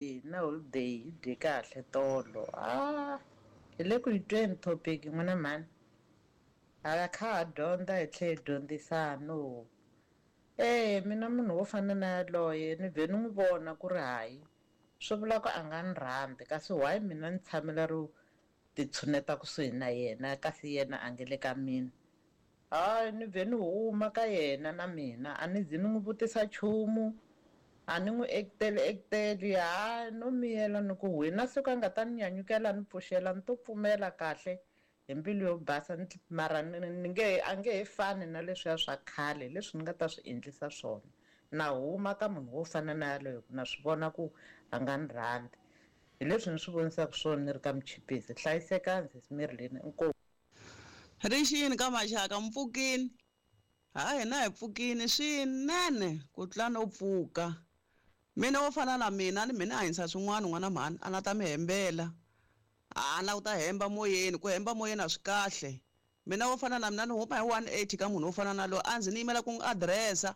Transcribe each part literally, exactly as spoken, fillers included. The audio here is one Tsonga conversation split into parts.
Na holiday yi dye kahle tolo. Ah, hi le ku yi tweni topic n'wina mhani. Ha kha ha dyondza hi tlhe hi dyondzisana. E mina munhu wo fana na yaloye ni vhe ni n'wi vona ku ri hayi swi vula ku a nga ni rhandzi kasi why mina ni tshamela ro ti tshuneta kusuhi na yena kasi yena a nge le ka mina. Hayi ni vhe ni huma ka yena na mina a ni zi ni n'wi vutisa nchumu a ni n'wi ekuteli ekuteli hayi no miyela ni ku wena siku a nga ta ni nyanyukela ni pfuxela ni to pfumela kahle hi mbilu yo basa mara ni nge a nge he fani na leswiya swa khale leswi ni nga ta swi endlisa swona. Na huma ka munhu wo fana na yaloye ku na swi vona ku a nga ni rhandzi. Hi leswi ni swi vonisaka swona ni ri ka Muchipisi. Hlayisekani sesi Marilyn inkomu. Rixini ka maxaka mi pfukini ha hina hi pfukini swinene ku tlula no pfuka. Mina wo fana na mina ni mina hanyisa swin'wana n'wana mhani a na ta mi hembela a na ku ta hemba moyeni ku hemba moyeni a swi kahle. Mina wo fana na mina ni huma hi one eighty ka munhu wo fana na loyi a ndzi ni yimela ku n'wi adirese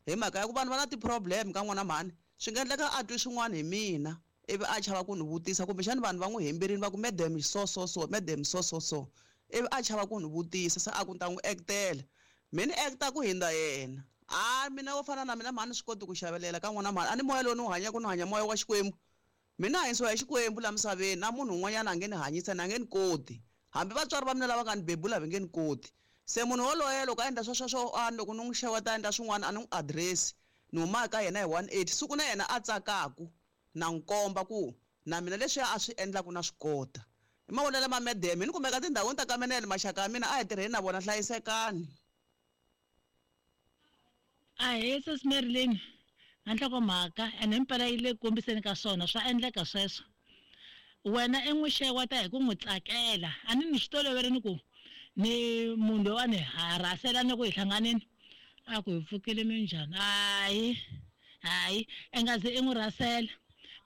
hi mhaka ya ku vanhu va na ti-problem ka n'wana mhani swi nga endleka a twi swin'wana hi mina ivi a chava ku ni vutisa kumbexani vanhu va n'wi hemberile va ku madam so so so madam so so so ivi a chava ku ni vutisa se a ku ni ta n'wi actela mi ni acta ku hindza yena. A mina wo fana na mina mhani swi koti ku xavelela ka n'wana mhani a ni moya lowu ni wu hanyaka ni hanya moya wa Xikwembu. Mina hanyisiwa hi Xikwembu la misaveni na munhu un'wanyana a nge ni hanyisa ni a nge ni koti hambi vatswari va mina lava nga ni bebula va nge ni koti. Se munhu woloye loko a endla swa sweswo a loko ni n'wi xeweta a endla swin'wana a ni n'wi adirese ni huma ka yena hi one eighty siku na yena a tsakaku na n'wi komba ku na mina leswiya a swi endlaku na swi kota. I mavonelo ma madam hi ni kumeka tindhawini ta ka Menele maxaka ya mina a hi tirheni na vona hlayisekani. Ahee sesi Marilyn na nhlokomhaka ene himpela yi le ku kombiseni ka swona swa endleka sweswo. Wena i n'wi xeweta hi ku n'wi tsakela a ni ni swi toloverile ku ni munhu loyi a ni harasela ni ku hi hlanganini a ku hi pfukile minjhani hayi hayi i nga ze i n'wi rhasela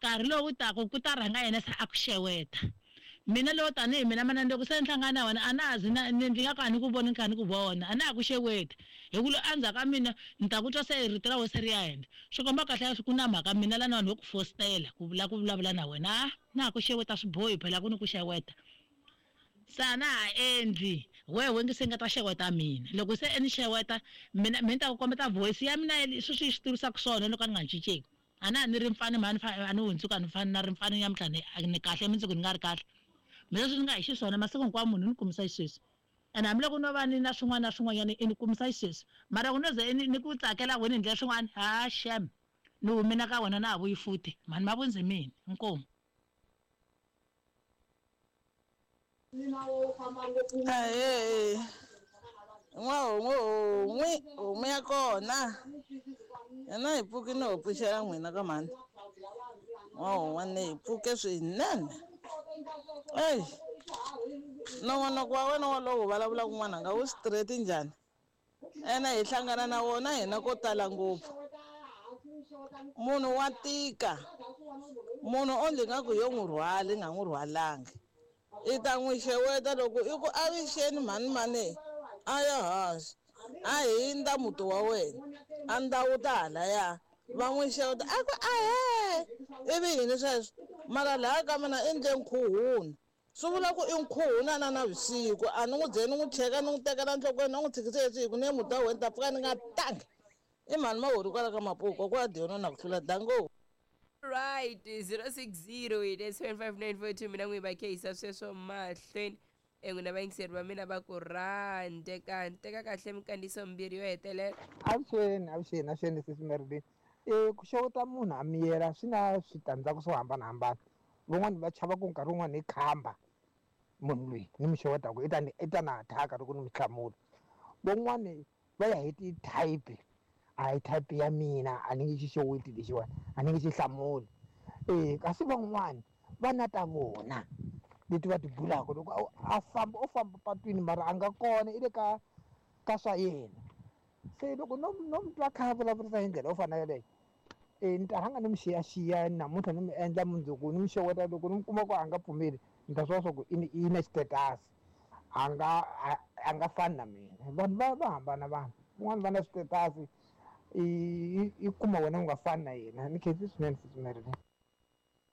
nkarhi lowu taka ku ta rhanga yena se a ku xeweta. Mina lowo tanihi mina mana loko se ni hlangana na wena a na ha zi na ni nga ka ni ku voni ni kha ni ku vona a na ha ku xeweti hi ku loyi endzhaku ka mina ni ta ku twa se rito ra wena se ri ya henhla swi komba kahle ku na mhaka mina la na vanhu vo ku fositela ku vula ku vulavula na wena a na ha ku xeweta swi bohi phela ku ni ku xeweta. Se a na ha endli wehe nge se nga ta xeweta mina loko se ni xeweta mina mina ni ta ku kombeta voice ya mina sweswi yi swi tivisaka swona loko a ni nga cinceki. A na ha ni ri mfana mhani a ni hundzuka ni fana na ri mfana nyamuntlha ni ni kahle mundzuku ni nga ri kahle. Mina leswi ni nga hi xiswona masiku hinkwawo munhu ni kumisa xisweswi ene hambiloko no va ni na swin'wana na swin'wanyana i ni kumisa xisweswi mara ku no ze ni ni ku tsakela wena hi ndlela swin'wana ha shem ni humile ka wena na ha vuyi futhi mhani mavundzi mina inkomu. Ahee n'wahomu homu homu ya kona yena hi pfuki no pfuxela n'wina ka mhani n'wahon'wana hi pfuke swinene. Eyi nongonoko wa wena wolowo vulavula kun'wana nga wu straight njhani ene hi hlangana na wona hina ko tala ngopfu. Munhu wa tika munhu onge nga ku yo n'wi rhwali nga n'wi rhwalangi i ta n'wi xeweta loko i ku avixeni mhani mani a ya hansi a hindza muti wa wena a ndhawu ta halaya va n'wi xeweta a ku ahee ivi yini sweswo mara laha ka mina i ndle nkhuhuna swi vula ku i nkhuhuna na navusiku a ni n'wi ze ni n'wi cheka ni n'wi tekela nhlokweni ni n'wi tshikise hi ni ye muti wa wena ni ta pfuka ni nga tangi i mhani mahori kwala ka Mapuku ku a diyona na ku hlula dango. Right, zero six zero eight eight seven five nine four two mina n'wi va khehisa sweswo mahlweni n'wina vayingiseri va mina va ku rhandeka teka kahle minkandziyiso mimbirhi yo hetelela. Avuxeni avuxeni avuxeni sesi Marilyn. E ku xeweta munhu a miyela swi na switandzhaku swo hambanahambana. Van'wani va chava ku nkarhi wun'wani hi khamba munhu loyi ni mi xewetaka i ta ni i ta na attack-a loko ni mi hlamula. Van'wani va ya hi ti-type a hi type ya mina a ni nge xi xeweti lexiwani a ni nge xi hlamuli. E kasi van'wani va na ta vona leti va ti bulaka loko a famba o famba patwini mara a nga kona i le ka ka swa yena. Se loko no no mi twa kha a vulavurisa hi ndlela yo fana yeleyo e ni ta rhanga ni mi xiyaxiya namuntlha ni mi endla mundzuku ni mi xeweta loko ni mi kuma ku a nga pfumeli ni ta swi vona swa ku i i na xitetasi a nga a nga fani na mina. Vanhu va va hambana vanhu van'wani va na switetasi i i kuma wena u nga fani na yena. Ni khensi swinene sesi Marilyn.